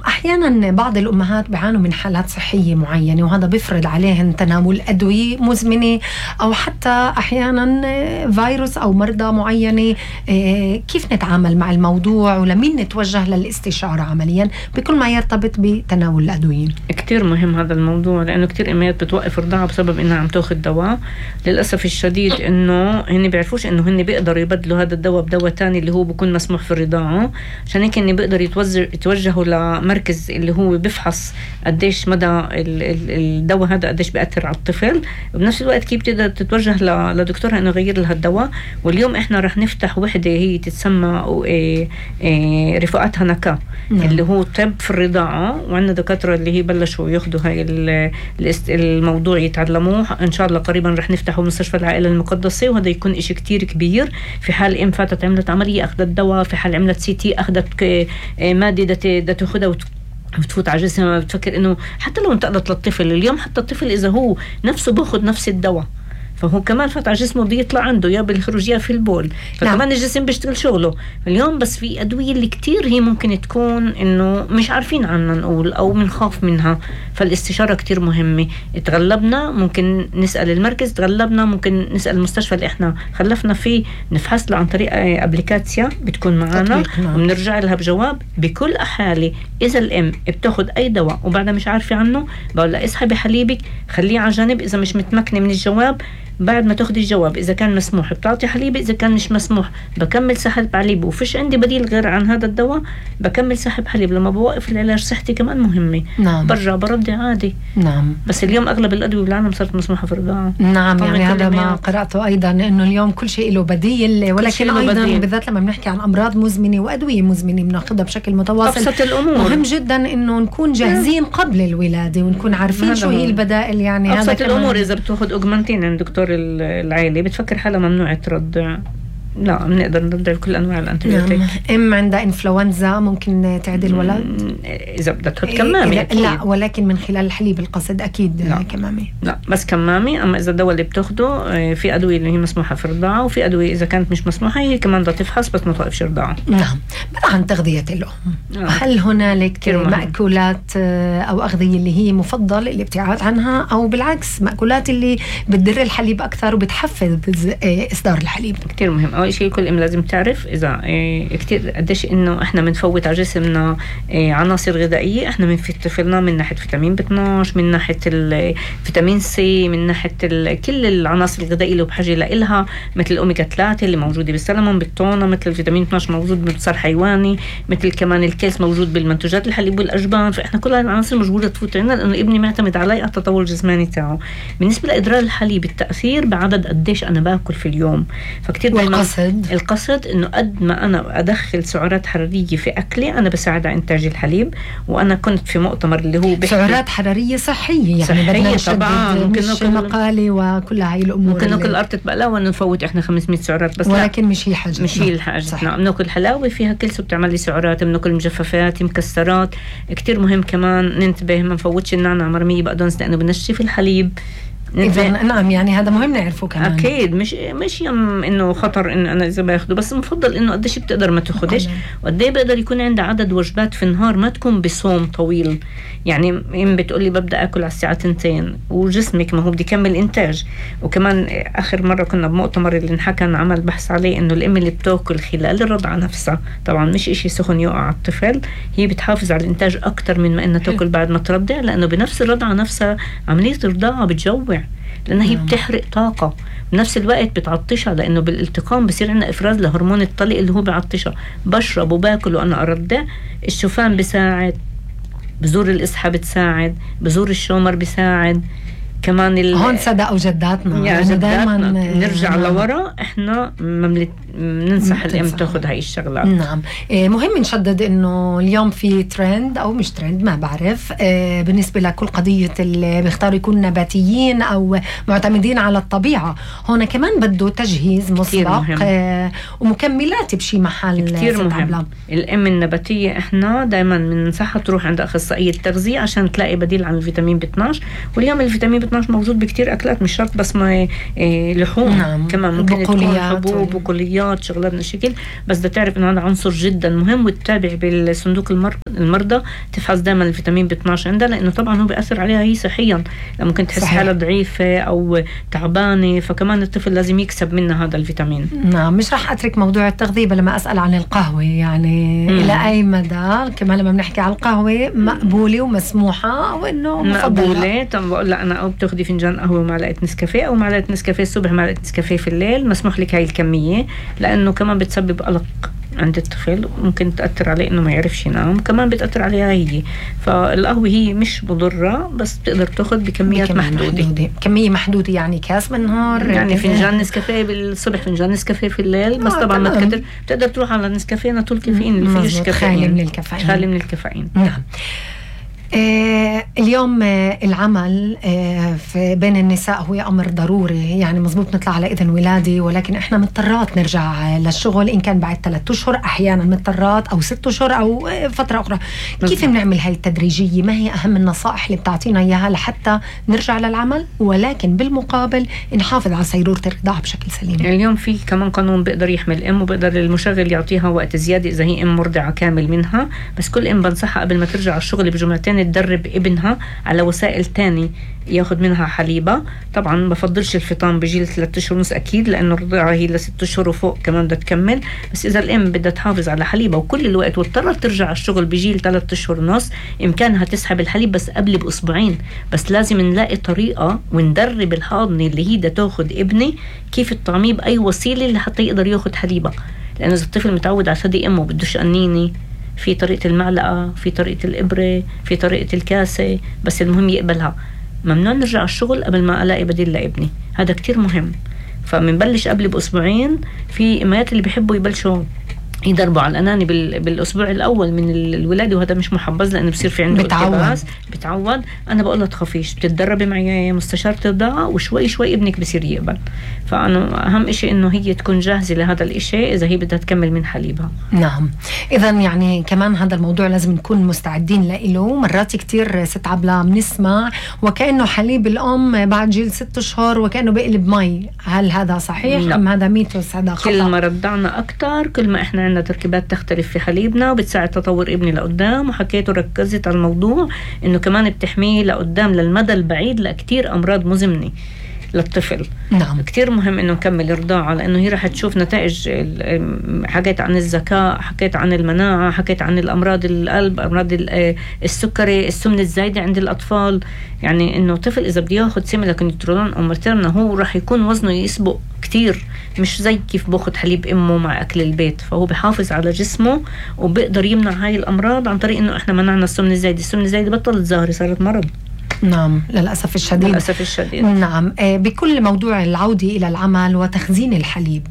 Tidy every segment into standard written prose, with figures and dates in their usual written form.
أحيانا بعض الأمهات بيعانوا من حالات صحية معينة، وهذا بيفرض عليهن تناول أدوية مزمنة أو حتى أحيانا فيروس أو مرضى معينة. كيف نتعامل مع الموضوع ولمين نتوجه للاستشارة عمليا بكل ما يرتبط بتناول الأدوية؟ كتير مهم هذا الموضوع، لأنه كتير أمهات بتوقف رضاعة بسبب إنها عم تاخد دواء. للأسف الشديد إنه هن بيعرفوش إنه هن بيقدروا يبدلوا هذا الدواء بدواء تاني اللي هو بيكون مسموح في الرضاعة، عشان هيك هن بيقدروا يتوجهوا لمركز اللي هو بيفحص قديش مدى الدواء هذا قديش بيأثر على الطفل. وبنفس الوقت كيف بتقدر تتوجه لدكتورها إنه يغير لها الدواء. واليوم إحنا رح نفتح وحدة هي تتسمى رفقاتها نكا، اللي هو طب في الرضاعة، وعندنا دكاترة اللي هي بلشوا ياخدوا هاي الموضوع يتعلموه. إن شاء الله قريبا رح نفتحه مستشفى العائلة المقدسة، وهذا يكون إشي كتير كبير. في حال إم فاتت عملت عملية أخذت دواء، في حال عملت CT أخذت مادة دا تاخدها وتفوت على جسمها. بتفكر إنه حتى لو انتقلت للطفل اليوم، حتى الطفل إذا هو نفسه باخد نفس الدواء فهو كمان فات على جسمه بده يطلع عنده يا بالخروج يا في البول، فكمان الجسم بيشتغل شغله. اليوم بس في أدوية اللي كتير هي ممكن تكون إنه مش عارفين عنها نقول أو منخاف منها، فالاستشارة كتير مهمة. تغلبنا ممكن نسأل المركز، تغلبنا ممكن نسأل المستشفى اللي إحنا خلفنا فيه، نفحص له عن طريق أبليكاتسيا بتكون معنا وبنرجع لها بجواب. بكل أحالي إذا الأم بتاخد أي دواء وبعدها مش عارفة عنه، بقول لها اسحبي حليبك خليه على جانب. إذا مش متمكنة من الجواب بعد ما تاخدي الجواب، إذا كان مسموح بتعطي حليب، إذا كان مش مسموح بكمل سحب حليب، وفيش عندي بديل غير عن هذا الدواء بكمل سحب حليب. لما بوقف العلاج صحتي كمان مهمة. نعم. برجع برضي عادي. نعم. بس اليوم أغلب الأدوية بالعالم صارت مسموحة في الرضاعة. نعم، يعني هذا ما قرأته أيضا، إنه اليوم كل شيء له بديل، ولكن أيضا بديل. بالذات لما بنحكي عن أمراض مزمنة وأدوية مزمنة بناخدها بشكل متواصل. أبسط الأمور مهم جدا إنه نكون جاهزين قبل الولادة ونكون عارفين شو هي البدائل. يعني أبسط الأمور إذا بتاخد أوجمانتين عند دكتور العائلة بتفكر حالها ممنوع ترضع، لا بنقدر نرضع كل انواع الانتيبيوتيك. ام عندها انفلونزا ممكن تعدي الولد اذا بدها تحط كمامه. لا، ولكن من خلال الحليب القصد اكيد لا. كمامه لا بس كمامه. اما اذا الدواء اللي بتاخده في ادويه اللي هي مسموحه في الرضاعه، وفي ادويه اذا كانت مش مسموحه هي كمان بدها تفحص بس ما توقفش رضاعه. نعم. عن تغذيه الام، هل هنالك مأكولات او اغذيه اللي هي مفضل الابتعاد عنها، او بالعكس مأكولات اللي بتدر الحليب اكثر وبتحفز اصدار الحليب؟ كتير مهم. أول شيء كل أم لازم تعرف إذا كتير قديش إنه إحنا بنفوت على جسمنا عناصر غذائية. إحنا بنفيد من ناحية فيتامين B12، من ناحية الفيتامين C، من ناحية كل العناصر الغذائية اللي بحاجة لإلها، مثل الأوميجا 3 اللي موجودة بالسلمون بالتونة، مثل الفيتامين 12 موجود بالبصر حيواني، مثل كمان الكالس موجود بالمنتوجات الحليب والأجبان. فإحنا كل العناصر موجودة تفوت عنا، لأنه ابني معتمد على التطور الجسماني تاعه. بالنسبة لإدرار الحليب التأثير بعدد قديش أنا باكل في اليوم. فكتير القصد انه قد ما انا ادخل سعرات حراريه في اكلي انا بساعد على انتاج الحليب. وانا كنت في مؤتمر اللي هو سعرات حراريه صحيه، يعني صحية طبعا، ممكن مقالي وكل هاي الامور. ممكن ناكل قرطه بقلاوه ونفوت احنا 500 سعرات بس، ولكن مش هي حاجه، مش هي الحاجه. بناكل حلاوه فيها كلسة بتعمل لي سعرات، بناكل مجففات مكسرات. كتير مهم كمان ننتبه ما نفوتش النعناع مرميه بقدونس لانه بنشف الحليب. نعم، يعني هذا مهم نعرفه كمان. أكيد مش إنه خطر إنه أنا إذا باخده، بس مفضل إنه قديش بتقدر ما تاخدش، وقديه بقدر يكون عندها عدد وجبات في النهار ما تكون بصوم طويل. يعني إم بتقولي ببدأ أكل على الساعة 2 وجسمك ما هو بدي يكمل إنتاج. وكمان آخر مرة كنا بمؤتمر اللي انحكى عمل بحث عليه إنه الأم اللي بتاكل خلال الرضعة نفسها، طبعا مش إشي سخن يقع على الطفل، هي بتحافظ على الإنتاج أكتر من ما إنها تاكل بعد ما ترضع، لأنه بنفس الرضعة نفسها عملية الرضاعة بتجوع، لأنها هي بتحرق طاقة بنفس الوقت بتعطشها، لأنه بالالتقام بصير عندنا إفراز لهرمون الطلق اللي هو بيعطشها. بشرب وباكل وأنا أرضع. الشوفان بيساعد، بذور الإسحة بتساعد، بذور الشومر بيساعد كمان. هون صدقوا جداتنا، يعني جداتنا نرجع لورا. احنا ننصح الام تاخذ هاي الشغلات. نعم. مهم نشدد انه اليوم في ترند او مش ترند ما بعرف، بالنسبه لكل قضيه اللي بيختاروا يكونوا نباتيين او معتمدين على الطبيعه، هون كمان بده تجهيز مسبق ومكملات بشي محل. كتير مهم. الام النباتيه احنا دائما بننصحها تروح عند اخصائيه تغذيه عشان تلاقي بديل عن الفيتامين B12. واليوم الفيتامين موجود بكتير أكلات، مش شرط بس ما لحوم. نعم. كمان ممكن تكون حبوب وبقوليات عرضيات شغلاتنا شكل، بس بدها تعرف انه هذا عنصر جدا مهم، وتتابع بالصندوق المرضى تفحص دائما الفيتامين B12 عندها، لانه طبعا هو بيأثر عليها هي صحيا، ممكن تحس حالها ضعيفة او تعبانة، فكمان الطفل لازم يكسب منها هذا الفيتامين. نعم. مش راح اترك موضوع التغذية لما اسأل عن القهوة، يعني الى اي مدى كمان لما بنحكي على القهوة مقبولة ومسموحة او انه مقبولة؟ طب بقول لها انا او بتاخدي فنجان قهوة ومعلقة نسكافيه، او معلقة نسكافيه الصبح معلقة نسكافيه في الليل، مسموح لك هاي الكمية، لانه كمان بتسبب قلق عند الطفل، ممكن تأثر عليه انه ما يعرفش ينام، كمان بتأثر عليها هي. فالقهوة هي مش مضرة، بس بتقدر تاخد بكميات محدودة. كمية محدودة، يعني كاس بالنهار، يعني فنجان نسكافيه بالصبح، فنجان نسكافيه في الليل، بس طبعا ما تكتر. بتقدر تروح على النسكافيه ناتول كافيين اللي فيش كافيين، خالي من الكافيين. نعم. اليوم العمل في بين النساء هو أمر ضروري، يعني مزبوط نطلع على إذن ولادي، ولكن إحنا مضطرات نرجع للشغل، إن كان بعد 3 أشهر، أحيانا مضطرات، أو 6 أشهر، أو فترة أخرى. كيف بنعمل هاي التدريجية؟ ما هي أهم النصائح اللي بتعطينا إياها لحتى نرجع للعمل، ولكن بالمقابل نحافظ على سيرورة الرضاعة بشكل سليم؟ اليوم في كمان قانون بيقدر يحمي الأم، وبيقدر المشغل يعطيها وقت زيادة إذا هي أم مرضعة كامل منها، بس كل أم بنصحها قبل ما ترجع الشغل بجملتين تدرب ابنها على وسائل تاني ياخد منها حليبة. طبعا بفضلش الفطام بجيل 3 أشهر ونص أكيد، لأنه الرضاعة هي ل6 أشهر وفوق كمان بدها تكمل، بس إذا الأم بدها تحافظ على حليبة وكل الوقت واضطرت ترجع الشغل بجيل 3 أشهر ونص، إمكانها تسحب الحليب بس قبل بأسبوعين، بس لازم نلاقي طريقة وندرب الحاضنة اللي هي بدها تاخد ابني كيف الطعميه بأي وسيلة لحتى يقدر ياخد حليبة، لأنه إذا الطفل متعود على ثدي أمه بدوش أنيني، في طريقة المعلقة، في طريقة الإبرة، في طريقة الكاسة، بس المهم يقبلها. ممنوع نرجع الشغل قبل ما ألاقي بديل لابني، هذا كتير مهم. فمنبلش قبل بأسبوعين. في إمهات اللي بيحبوا يبلشوا يضربوا على الأناني بالأسبوع الأول من الولادة، وهذا مش محبذ لأنه بصير في عنده التباس، بتعود. أنا بقول له تخافيش، بتتدربي معي مستشارة رضاعة وشوي شوي ابنك بصير يقبل. فأنا أهم إشي إنه هي تكون جاهزة لهذا الإشي إذا هي بدها تكمل من حليبها. نعم. إذا يعني كمان هذا الموضوع لازم نكون مستعدين له. مرات كتير ست عبلة بنسمع وكأنه حليب الأم بعد جيل 6 أشهر وكأنه بقلب مي، هل هذا صحيح؟ لا. أم هذا ميتوس، هذا خطأ؟ كل ما رضعنا أكتر كل ما إحنا عندنا تركيبات تختلف في حليبنا وبتساعد تطور ابني لقدام. وحكيته ركزت على الموضوع إنه كمان بتحميه لقدام للمدى البعيد لكتير أمراض مزمنة للطفل. نعم. كتير مهم إنه نكمل الرضاعة، لأنه هي راح تشوف نتائج. حكيت عن الذكاء، حكيت عن المناعة، حكيت عن الأمراض القلب، أمراض السكري، السمنة الزايدة عند الأطفال. يعني إنه طفل إذا بده ياخد سيميلاكونيترولون أو ماتيرنا هو راح يكون وزنه يسبق كتير، مش زي كيف باخد حليب أمه مع أكل البيت. فهو بحافظ على جسمه وبيقدر يمنع هاي الأمراض عن طريق إنه إحنا منعنا السمنة الزايدة. السمنة الزايدة بطلت ظاهرة، صارت مرض. نعم للأسف الشديد. للأسف الشديد. نعم. بكل موضوع العودة إلى العمل وتخزين الحليب،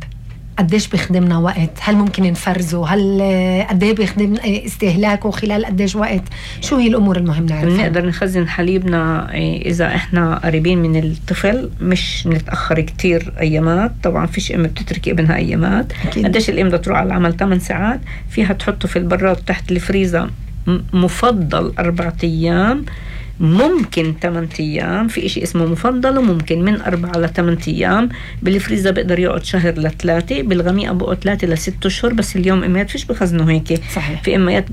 قديش بيخدمنا وقت؟ هل ممكن نفرزه؟ هل قديه بيخدم استهلاكه خلال قديش وقت؟ شو هي الأمور المهمة نعرفها؟ نقدر نخزن حليبنا إذا إحنا قريبين من الطفل، مش نتأخر كتير أيامات. طبعا فيش أم بتترك ابنها أيامات. قديش الأم بدها تروح على العمل 8 ساعات، فيها تحطه في البراد تحت الفريزر، مفضل 4 أيام، ممكن 8 أيام. في إشي اسمه مفضل وممكن من 4 ل 8 أيام. بالفريزر بقدر يقعد شهر ل3، بالغميقة بقعد 3 ل 6 أشهر. بس اليوم إميات فيش بخزنوا هيك. صحيح. في إميات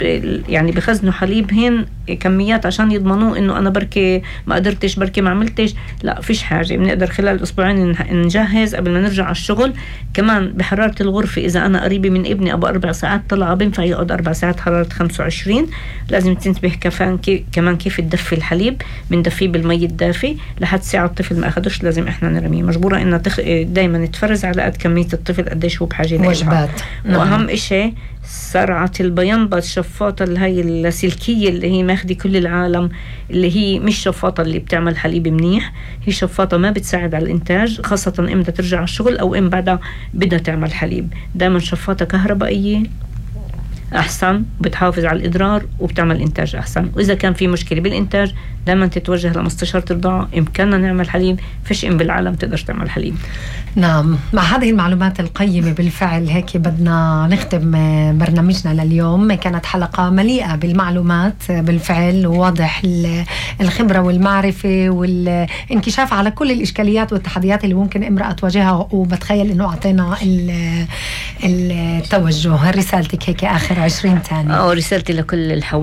يعني بخزنوا حليب هن كميات عشان يضمنوا إنه أنا بركي ما قدرتش، بركي ما عملتش. لا، فيش حاجة. بنقدر خلال أسبوعين نجهز قبل ما نرجع على الشغل. كمان بحرارة الغرفة، إذا أنا قريبة من ابني أبو 4 ساعات طلع بنفع يقعد 4 ساعات حرارة 25. لازم تنتبه كمان كيف تدفي الحليب. بندفيه بالمي الدافي لحد ساعة الطفل ما أخدوش لازم إحنا نرميه. مجبورة إنها دايما تفرز على قد كمية الطفل قديش هو بحاجة لها. وجبات. وأهم إشي سرعة البيانبة، الشفاطة اللي هي السلكية اللي هي ماخدي كل العالم، اللي هي مش شفاطة اللي بتعمل حليب منيح، هي شفاطة ما بتساعد على الإنتاج، خاصة إم بدها ترجع على الشغل أو إم بعدها بدها تعمل حليب. دايما شفاطة كهربائية أحسن، بتحافظ على الإدرار وبتعمل إنتاج أحسن. وإذا كان في مشكلة بالإنتاج دائما تتوجه لمستشارة الرضاعة، إمكاننا نعمل حليب، فيش بالعالم تقدر تعمل حليب. نعم، مع هذه المعلومات القيمة بالفعل هيك بدنا نختم برنامجنا لليوم. كانت حلقة مليئة بالمعلومات بالفعل، وواضح الخبرة والمعرفة والانكشاف على كل الإشكاليات والتحديات اللي ممكن امرأة تواجهها، وبتخيل إنه أعطينا التوجه. رسالتك هيك آخر 20 ثانية. رسالتي لكل الحوامل